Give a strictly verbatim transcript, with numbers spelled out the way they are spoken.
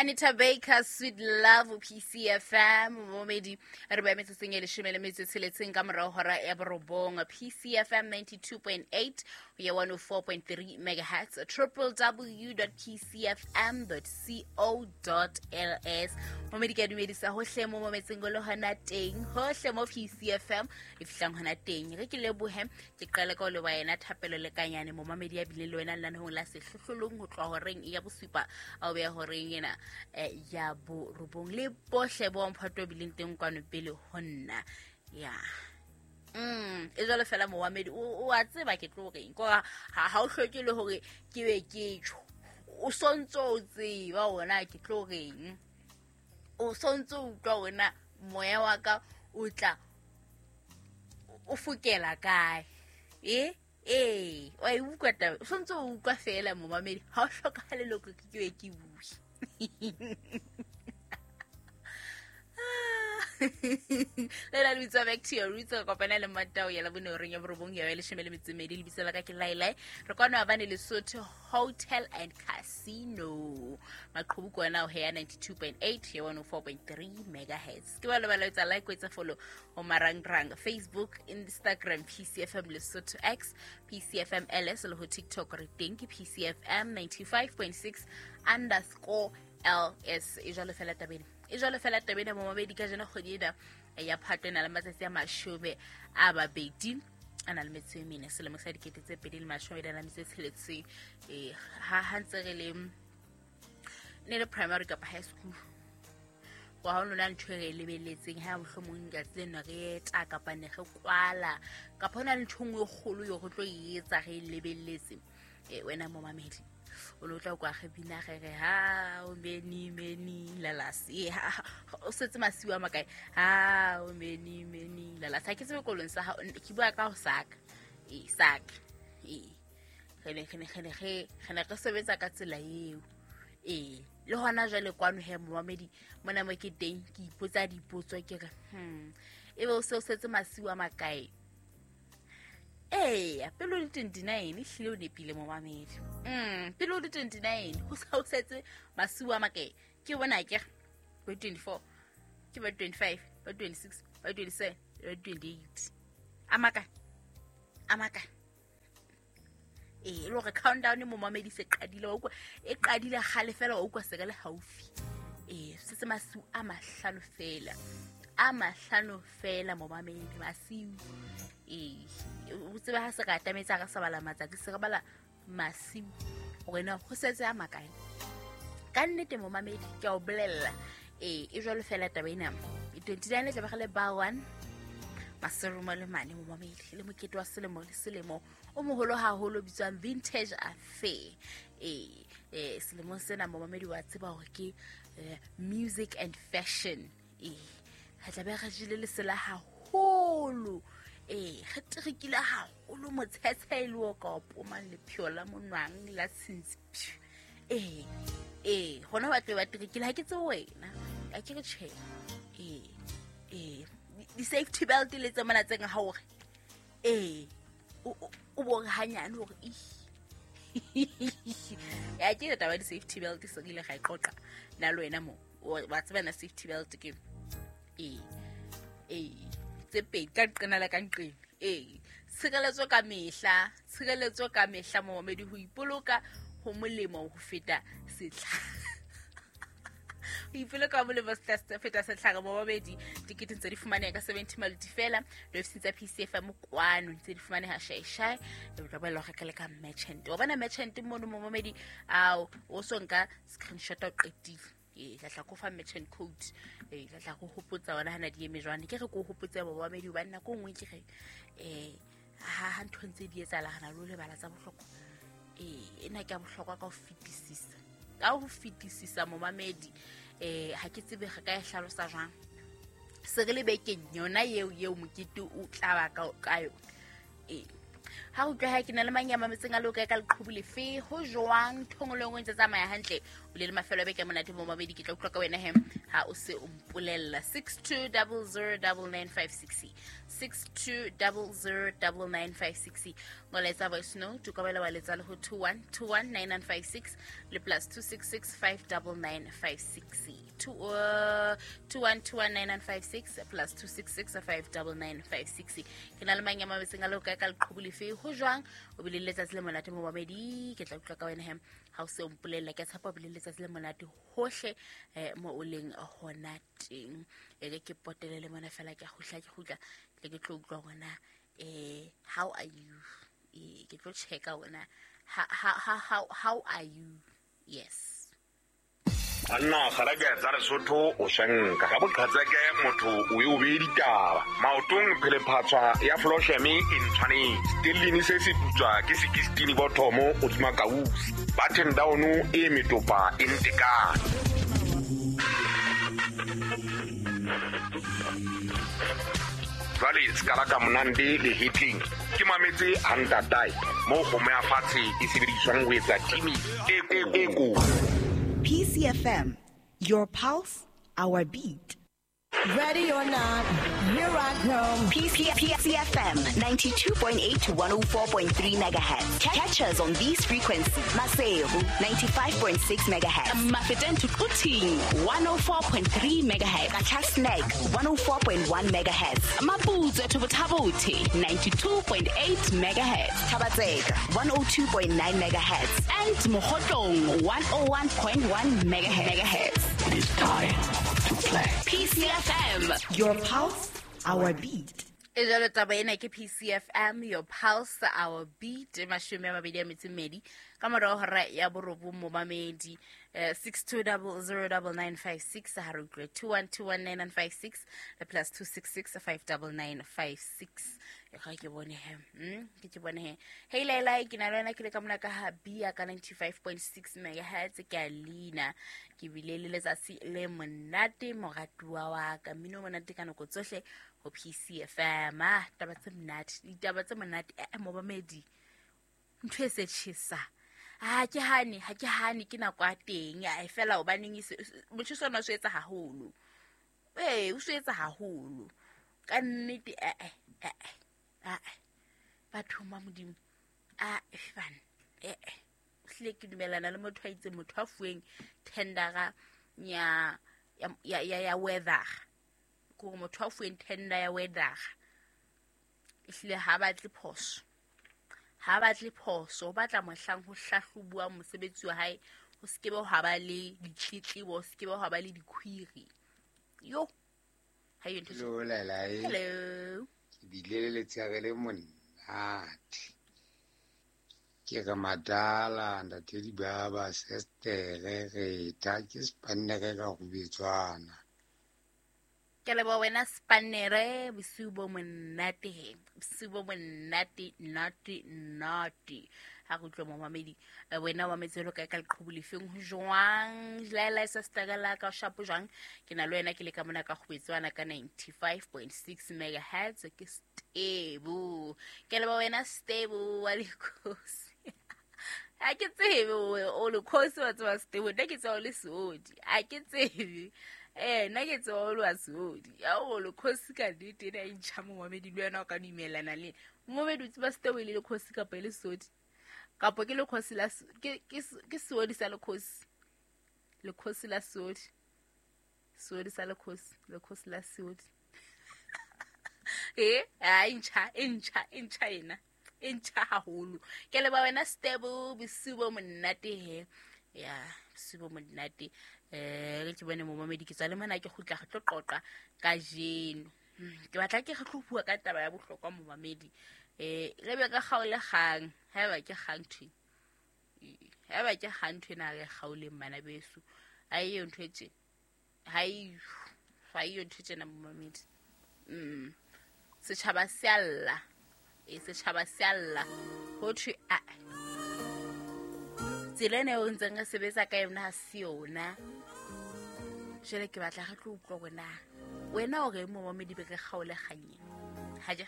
Anita Baker, Sweet Love, P C F M, momedi re ba metsotsong e leshome le metso e tsheletseng ka morao hora ya borobong. P C F M ninety-two point eight ho ya one oh four point three megahertz, w w w dot p c f m dot co dot l s. Momedi ke a dumedisa hohle mo mometseng o le hona teng, hohle mo P C F M e fihlang hona teng. Re ke lebohe, ke qale ka ho leboha yena Thapelo Lekanyane, momamedi ya bileng le wena lenaneong la sehlohlolong ho tloha horeng ya bosupa a o beha horeng ena eh, ya borobong, le bohle bo mphato bileng teng kwano pele ho nna. Ya. Mm, e jwalo fela momamedi, o, o a tseba ke tlo reng, ko ha, ha o hloke le hore ke be ke tjho. O sontso o tseba hore ke tlo reng. O sontso o utlwa hore na moya wa ka o tla o fokela kae. Eh? Eh, wa e utlwa taba. O sontso o utlwa fela momamedi, ha o hlokahale le hore ke be ke bue. Le la lebitso back to your roots, re kopana le Mmatao ya Labone horeng ya borobong ya leshome le metso e mmedi. Lebitso la ka ke Lailai. Re kwana maobane Lesotho Hotel and Casino. Maqhubu ke ona ho ya ninety-two point eight ya one oh four point three megahertz. Ke ba le ba etsa like, o etsa follow ho marangrang Facebook, Instagram, P C F M Lesotho X, P C F M L S le ho TikTok re teng ke P C F M ninety-five point six underscore L S. E jwalo fela tabeng. E jwalo fela tabeng ya momamedi ka jeno kgwedi ena ya Phato e na le matsatsi a mashome a mabedi a na le metso e mene selemo sa dikete tse pedi le mashome a na le metso e tsheletseng. Eh, ha ha ntse re le ne le primary kapa high school, wa ha lona ntho e re e lebelletseng ha mohlomong letsatsi lena re eta kapa ne re kwala kapa hona le ntho e nngwe e kgolo eo re tlo e etsa re e lebelletse. Eh, wena momamedi o lo tla kwa re bina re re ha o many many lalas. Eh, ha, o setse masiu a makae? Ha o many many lalas. Ha ke tsebe kolong sa hao, ke bua ka ho saka. Eh, saka. Eh, re ne, re ne, re ne, re, re ne re sebetsa ka tsela eo. Eh, le hona jwale kwano he momamedi mona mo ke teng ke ipotsa dipotso ke re, hmm, ebe o se o setse masiu a makae? Eh, pele o le twenty-nine, ehlile o nepile momamedi. Mm, pele o le twenty-nine, ho sa o setse masiu a makae? Ke bona ke re, bo twenty-four, ke ba twenty-five, ba twenty-six, ba twenty-seven, ba twenty-eight. A makae? A makae? Eh, e le hore countdown momamedi se qadile, wa utlwa, e qadile kgale fela, wa utlwa se re le haufi. Eh, setse masiu a mahlano fela. A mahlano fela momamedi, masiu. Eh, o tsebe ha se re atametse, ha re sa bala matsatsi, se re bala masiu hore na ho setse a makae. Ka nnete momamedi, ke a o bolella. Eh, e jwalo fela taba ena. twenty-nine e tla be re le bar one, Maserumo le mane momamedi, le mokete wa selemo le selemo o moholo haholo o bitswang Vintage Affair. Eh, eh, selemong sena momamedi wa tseba hore ke, eh, music and fashion. Eh, re tla be re jele lesela haholo. Eh, re terekile haholo motshetshe e le o ka o pomang lepheo la monwang la tshintshi. Eh, eh, hona ba tlo ba terekile, ha ke tsebe wena. Ha ke re tjhe. Eh, eh, di-safety belt le tse mona tse nga hore, eh, o, o, o bo re hanyane hore, ih. Ya, ke taba ya di-safety belt se re ile ra e qoqa nna le wena mo. O, wa tseba na safety belt ke? Eh, eh, tse pedi ka nqena le ka nqena. Eh, tshireletso ka mehla, tshireletso ka mehla momamedi, ho ipoloka ho molemo ho feta setlhare. Ho ipoloka ho molemo ho feta setlhare momamedi. Tikete ntse di fumaneha ka seventy maluti fela, diofising tsa P C F M kwano ntse di fumaneha shai-shai. E tla boela ho reka le ka merchant. Wa bona merchant mono momamedi, ao, o so nka screenshot o qetile. Eh, tla tla ko fa merchant code. Eh, tla tla go hopotsa wona hana di eme jwang. Ke re ko hopotse momamedi hobane nako e nngwe ke re, eh, ha, ha ntho ntse di etsahala, re na le ho lebala tsa bohlokwa. Eh, ena ke ya bohlokwa ka ho fetisisa. Ka ho fetisisa momamedi. Eh, ha ke tsebe re ka e hlalosa jwang. Se re le bekeng yona eo, eo mokete o tla ba ka, ka yona. Eh, Ha o utlwa ha ke na le mang ya mametseng a loka ka leqhubu lefe ho jwang thongolong o ntse tsamaya hantle o le le mafelo a beke monate mo mabedi ke tla utlwa ka wena he ha o se o mpolella six two zero zero nine nine five six six two zero zero nine nine five six ngoletsa voice note o ka bela wa letsa le ho two one two one nine nine five six le plus two six six five nine nine five six two uh, two one two one nine nine five six plus two six six five nine nine five six ke na le mang ya mametseng a loka ka leqhubu lefe ho jwang o bile le letsatsi le monate mo babedi ke tla utlwa ka wena he ha o se o mpolella ke tshepa o bile letsatsi le monate hohle eh, mo o leng hona teng e ke ke potele le mona fela ke kgutla ke kgutla ke ke tlo utlwa hona eh how are you eh ke tlo checka hona how how how are you yes Anna kgarake tsa Lesotho o shanka ka boqhatseke motho o e o be ditaba maotong phelephatswa ya flosheme e ntshwanetse stellini se se putswa ke sixteen bothomo o tsuma kausi button down e metopa e ntekane jwale skala ka monande le hitling ke mametse hantatai mo go moya fatshe e sebediswang ho etsa timi e e ko P C F M, your pulse, our beat. Ready or not, here I come. P C F M, ninety-two point eight to one oh four point three megahertz. Catch us on these frequencies. Maseru, ninety-five point six megahertz. Mafeteng to Quthing, one oh four point three megahertz. Qacha's Nek, one oh four point one megahertz. Maputswe to Botha-Bothe, ninety-two point eight megahertz. Thaba-Tseka, one oh two point nine megahertz. And Mokhotlong, one oh one point one megahertz. It is time to play. P C F M, your pulse, our beat. E jalo taba ena ke P C F M, your pulse, our beat. Mashome a mabedi a metso e mmedi ka morao hora ya borobong momamedi six two zero zero nine nine five six ha re utlwe two one two one nine nine five six le plus two six six five nine nine five six e ga ke bone he mm ke ke bone he hey Laila ke na le wena ke le ka mona ka ha bia ka ninety-five point six megahertz ke a leina ke bile le letsatsi le monate moratuwa wa ka mmino monate ka nako tsohle ho P C F M ah taba tse monate ditaba tse monate eh momamedi ntho e se tjhesa ha ke hane ha ke hane ke nako ya teng a fela hobaneng motho sona o se etsa haholo eh o se etsa haholo ka nnete eh eh eh batho ba modimo a bana eh hle ke dumelana le motho a itse motho a fueng tendera ya ya ya ya weather ko motho a fueng tender ya weather ehlile ha batle phoso ha batle phoso o batla mohlang ho hlahlobuwa mosebetsi wa hae ho sekebe ha ba le ditletlebo ho sekebe ha ba le dikhwiri yo ha yo ntho hello Laila hello ke bile le letshere le monate ke re madala ntate di baba sestere re tha ke spannere ka go betswana ke leboha wena spannere bosiu bo monate he bosiu bo monate nate nate ha re utlwe momamedi wena wa metselo ka ka leqhubu lefeng ho jwang Laila sa stagala ka shapo jwang ke na le wena ke le ka mona ka kgobetswana ka ninety-five point six megahertz ke stable ke leboha wena stable wa lekhosi ha ke tsebe o lekhosi wa tseba stable nna ke tseba o le seodi ha ke tsebe eh nna ke tseba o le wa seodi ya o lekhosi ka nnete ena e ntjha momamedi le wena o ka dumelana le momamedi o tseba stable le lekhosi kapa e le seodi kapo ke lekhosi la ke ke ke seodi sa lekhosi lekhosi la seodi seodi sa lekhosi lekhosi la seodi eh a ntjha e ntjha e ntjha ena e ntjha haholo ke leba wena stable bosiu bo monate he ya bosiu bo monate eh ke bone momamedi ke tswa le mona ke kgutla re tlo qoqa kajeno ke batla ke re tlo bua ka taba ya bohlokwa momamedi eh re be ka kgaole kgang haeba ke kgang thwe haeba ke kgang thwe na re kgaoleng bana beso ha eyo ntho e tje ha e ha eyo ntho tjena momamedi mm setjhaba se a lla e setjhaba se a lla ho thwe a tsela ena eo ntseng re sebetsa ka yona ha se yona jwale ke batla re tlo utlwa hore na wena o reng momamedi be re kgaole kganyeng ha je